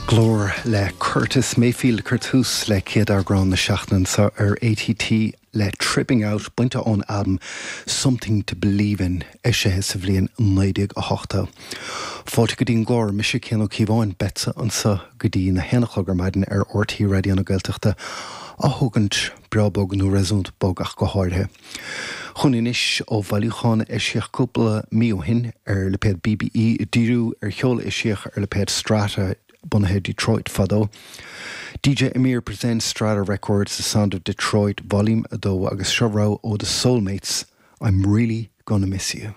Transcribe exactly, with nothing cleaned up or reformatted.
Glór le Curtis Mayfield ag cur tús le céad eagrán na seachtaine anseo ar ATT le Tripping Out bainte ón albam Something to Believe In eisithe sa bhliain naoi déag a hochtó. Fáilte go dtí an gclár mise Cian Ó Cíobháin beadsa anseo go dtí na haon a chlog ar maidin ar RTÉ Raidió na Gaeltachta á thógaint breá bog nó réasúnta bog ach go háirithe. Chun anois ó bhailiúchán eisíodh cúpla mí ó shin ar lipéad BBE díriú ar cheol eisíodh ar lipéad Strata bunaithe Detroit fadó. DJ Amir presents Strata Records The Sound of Detroit Volume a dó agus seo rogha ó The Soulmates I'm really gonna miss you.